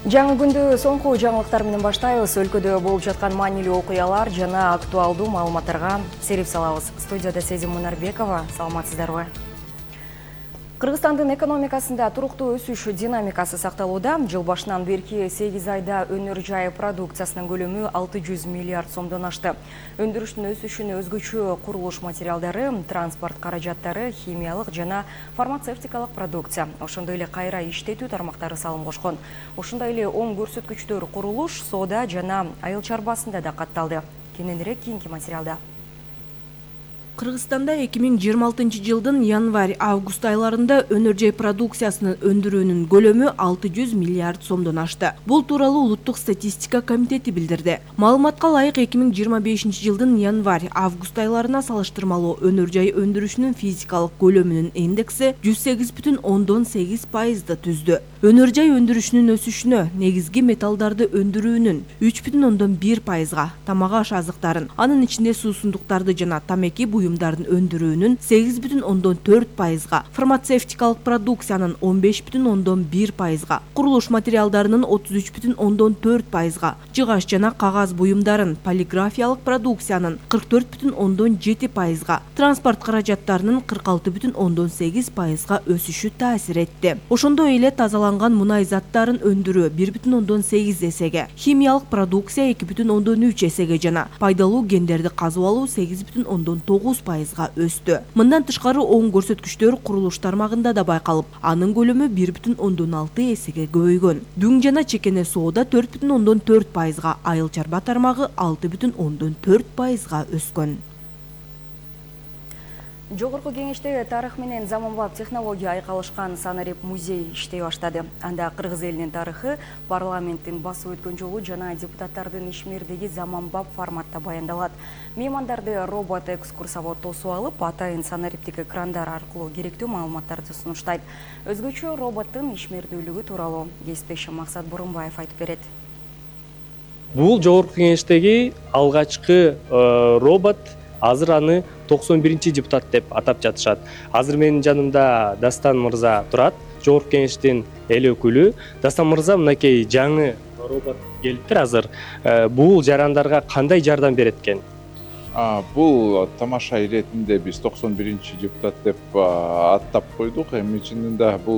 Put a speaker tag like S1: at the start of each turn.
S1: Жаңы күндү соңку жаңылыктар менен баштайбыз. Өлкөдө болуп жаткан маанилүү окуялар жана актуалдуу маалыматтарга серип салабыз. Студияда Сезим Мунарбекова. Саламатсыздарбы? Кыргызстандын экономикасында туруктуу өсүш динамикасы сакталууда. Жыл башынан берки 8 айда өнөр жай продукциясынын көлөмү 600 миллиард сомдон ашты. Өндүрүштүн өсүшүнө өзгөчө курулуш материалдары, транспорт каражаттары, химиялык жана фармацевтикалык продукция, ошондой эле кайра иштетүү тармактары салым кошкон. Ошондой эле оң көрсөткүчтөр курулуш, соода жана айыл чарбасында да катталды. Кененирээк кийинки материалда.
S2: Кыргызстанда 2026 жылдын январь-август айларында өнөр жай продукциясынын өндүрүүнүн көлөмү 600 миллиард сомдон ашты. Бул тууралуу Улуттук статистика комитети билдирди. Маалыматка ылайык 2025 жылдын январь-август айларына салыштырмалуу өнөр жай өндүрүшүнүн физикалык көлөмүнүн индекси 108,8%ды түздү. Өнөр жай өндүрүшүнүн өсүшүнө негизги металлдарды өндүрүүнүн 3,1%, тамак аш азыктарын, анын ичинде суусундуктарды жана тамеки буюмдардын өндүрүүнүн 8,4%, фармацевтикалык продукциянын 15,1%, курулуш материалдарынын 33,4%, жыгаш жана кагаз буюмдарын, полиграфиялык продукциянын 44,7%, транспорт каражаттарынын 46,8%га өсүшү таасир этти. Ошондой эле тазаланган мунай заттарын өндүрүү 1,8 эсеге, химиялык продукция 2,3 эсеге жана пайдалуу кендерди казып алуу 8,9%га өстү. Мындан тышкары оң көрсөткүчтөр курулуш тармагында да байкалып, анын көлөмү 1,6 эсеге көбөйгөн. Дүң жана чекене соода 4,4%га, айыл чарба тармагы 6,4%га өскөн.
S1: Жогорку кеңеште тарых менен заманбап технология айкалышкан санарип музей иштей баштады. Анда кыргыз элинин тарыхы, парламенттин басып өткөн жолу жана депутаттардын ишмердиги заманбап форматта баяндалат. Меймандарды робот экскурсовод тосуп алып, атайын санариптик экрандар аркылуу керектүү маалыматтарды сунуштайт. Өзгөчө роботтун ишмердүүлүгү тууралуу кесиптешим Максат Бурунбаев айтып берет.
S3: Бул жогорку кеңештеги алгачкы робот. Азыр аны 91-чи депутат деп атап жатышат. Азыр менин жанымда Дастан мырза турат, жогорку кеңештин эл өкүлү. Дастан мырза, мынакей жаңы робот келиптир азыр. Бул жарандарга кандай жардам берет экен?
S4: Бул тамаша иретинде биз 91-чи депутат деп аттап койдук. Эми чынында бул